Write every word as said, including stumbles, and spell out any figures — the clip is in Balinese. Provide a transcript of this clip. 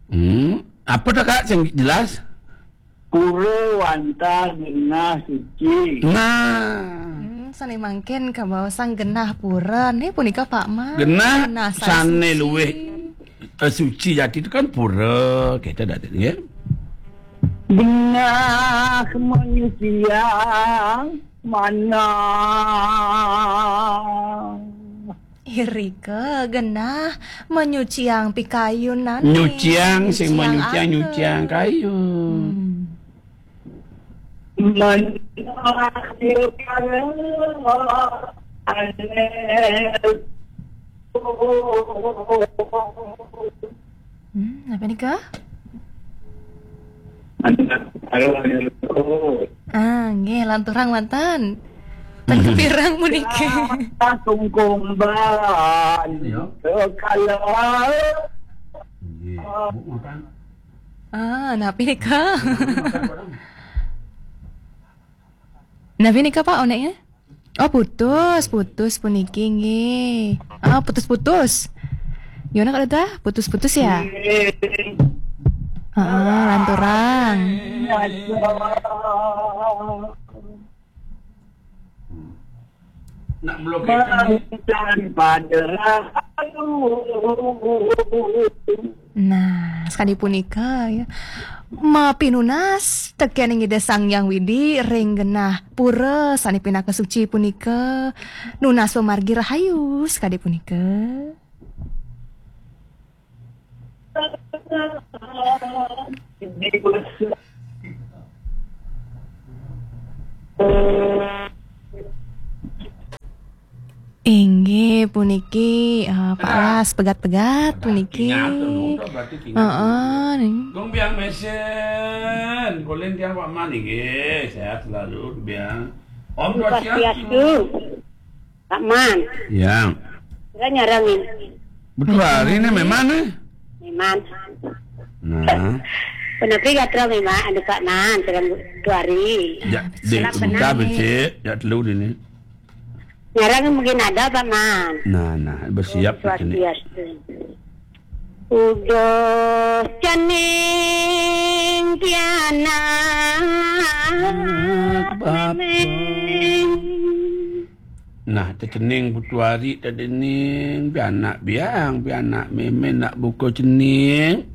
Hmm. Apa dah, Kak, yang jelas? Pura wantah genah suci. Nah. Hmm, sané mangkin kabaosang genah pura. Nih punika, Pak Man. Genah sané luwih, eh, suci jati itu kan pura. Kita dah tadi, ya. Genah manyuciang manah. Irika genah manyuciang pikayunan. Nyuciang, sing manyuciang, nyuciang kayun. Hmm. Manah. Hmm, apa nika? Anak, ayo, ayo, ayo. Ah, nggih, lanturang wonten. Teng kapirang puniki? Sungkumban. Iya. Kekala. Nggih, Bu, makan. Ah, napi nika? Makan, Pak. Napi nika, Pak, onéknya? Oh, putus, putus puniki nggih. Ah, putus-putus. Gimana kalau dah? Putus-putus ya? Heeh, lanturang. Nak melukai. Nah, sakadi punika ya. Mapinunas tekén Ida Sang Hyang Widi ring genah pura sané pinaka suci punika, nunas pamargi rahayu sakadi punika. Inggih puniki, eh, Pak Las pegat-pegat puniki. Heeh, nih. Gong Biang Mesen, kulin tiang Pak Man inggih, sehat selalu Biang. Om Swastiastu. Pak Man. Ya. Kira nyarang ini. Betul hari ini memang nih. Memang. Nah. Punapi gatra memang anu Pak Man, sareng Tuari. Ya, dek, sebentar becik, ya telu dini. Nyarang mungkin ada Pak Man. Nah, nah, bersiap di sini. Swastiastu. Uduh cening pianak. Anak bapak. Memeng. Nah, tecening putuari tedening pianak biang, pianak memen nak buka cening.